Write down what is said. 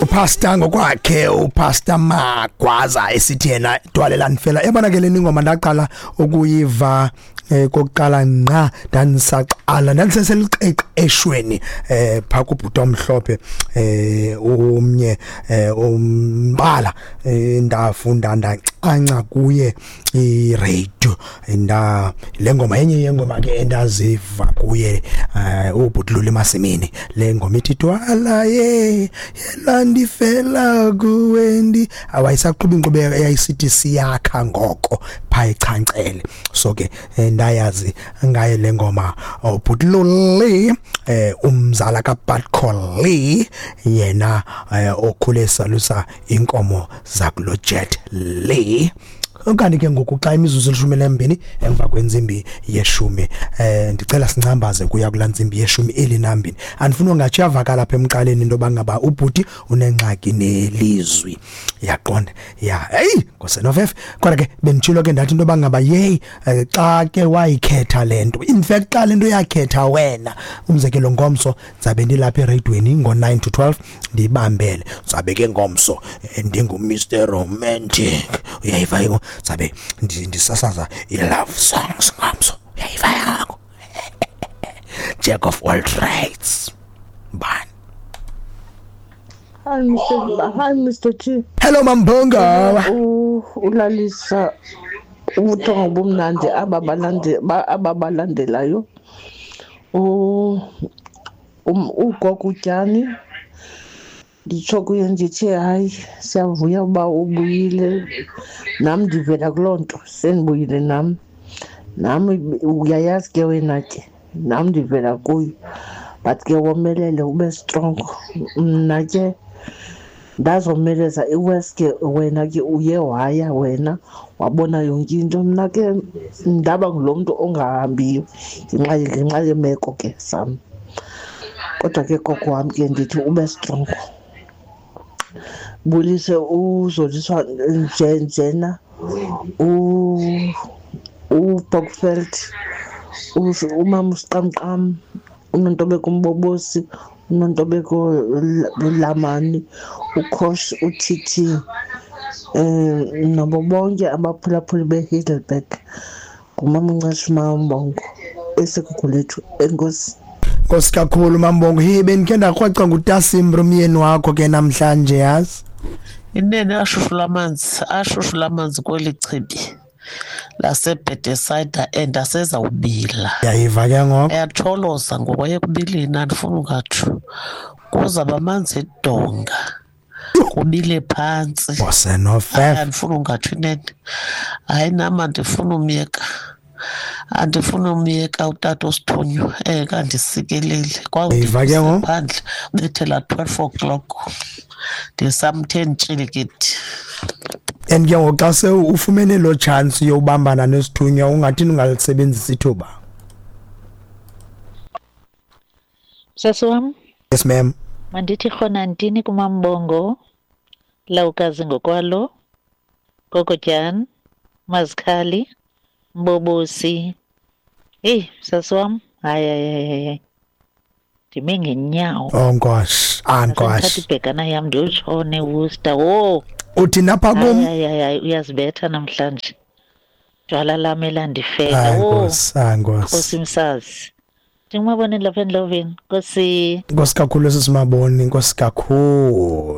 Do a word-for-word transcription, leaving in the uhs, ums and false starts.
Upastor ngokwakhe, uPastor Magwaza, esithi yena "Dwala Elandifela". Yabona ke, le ingoma ndaqala ukuyiva eh kokuqala ngqa ndandisaqala, ndandiseseliqeqeshweni eh pha kubhuti omhlophe eh umnye eh umbala eh ndafunda, ndacanca kuye i-radio. Nda le ngoma yenye yengoma ke endaziva kuye eh ubhuti Luli Masimini. Le ngoma ithi "Dwala ye yelandifela kuwe", ndi awayisaqhuba inkqubo eyayisithi "Siyakha" ngoko pha echancele. So ke eh, ndayazi ngaye le ngoma, ubhuti Luli eh umzala kaBatcoli, yena eh, okhule salusa inkomo zakulo Jet Lee. Kanti ke ngoku xa imizuzu elishumi nembini emva kwentsimbi yeshumi, eh ndicela sincambaze kuya kulaa ntsimbi yeshumi elinambini. Andifuni ungatsho, yavakala apha emqaleni into yoba ngaba ubhuti unengxaki nelizwi, yaqonda ya. Heyi, ngosenofefe. Kodwa ke benditshilo ke, ndathi into yoba ngaba yeyi eh, xa ke wayikhetha le nto, in fact xa le nto yakhetha wena, umzekelo ngomso ndizabe ndilapha ereyidweni ngo-nine to twelve, ndiyibambele. Ndizabe ke ngomso eh, ndingu-Mister Romantic, uyayiva ke? Ndizabe ndi- ndisasaza i-love songs ngomso, uyayiva yakho? Jack of all trades bani. Hi Mister Hi Mister T. Hello, Mambonga. U- ulalisa ubuthongo bumnandi aba balande ba- aba balandelayo. U um ugogo uTyani, nditsho kuye ndithi hayi, siyavuya uba ubuyile. Nam ndivela kuloo nto, sendibuyile nam. Nam uyayazi ke wena ke, nam ndivela kuyo. But ke womelele, ube strong. Mna ke ndazomeleza iwes ke, wena ke uye waya wena wabona yonke into. Mna ke ndaba ngulo mntu ongahambiyo ngenxa ngenxa yeemeko ke zam. Kodwa ke gogo wam ke ndithi ube strong. Bulise uZoliswa nje njena, uBokveld, umama uSiqamqam, uNontobeko Mbobosi, uNontobeko Lamani, uKhosh, uT T, um nabo bonke abaphulaphuli beHeidelberg. Ngumama uNceshu Mambongo eseGugulethu. Enkosi. Nkosi kakhulu, Mambongo. Hey, bendikhe ndakrweca ngutasimbre umyeni wakho ke namhlanje, yazi. Inene ashushu lamanzi, ashushu lamanzi kweli chibi laseBethesda and asezawubila. Yayiva ke ngoku. Ayatholoza ngoku ayekubileni, andifuni ungatsho. Kuzawuba amanzi edonga, kubile phantsi. Bosenofef. Andifuni ungatsho inene. Hayi, nam andifuni umyeka, andifuni umyeka utata osithunywa engekandisikeleli. Uyiva ke ngoku? Phandle bethela twelve o'clock, ndisamthe ntshilikiti. And ke ngoku xa se ufumene loo chance yobambana nesithunywa, ungathini ungalisebenzisa ithuba? Sasi wam. Yes, ma'am. Mandithi rhona ntini kuMambongo, Lawukazi ngokwalo, Gogotyani, Mazikhali, Mbobosi. Heyi, sasi wam, hayi, hayi, hayi, hayi, ndime ngenyawo. Oh nkosi, ah ndithatha nkosi. Ibhekana yam ndiyotshona eWorcester. Wo! Uthi napha Hayi, kum. hayi, hayi, hayi, uyazibetha namhlanje. Jwala lam elandifela. Hayi. Wo! Nkosi, ah Nkosi nkosi. Msazi. Ndingumaboneni lapha endloveni. Nkosi. Nkosi kakhulu, esisimaboni, nkosi kakhulu.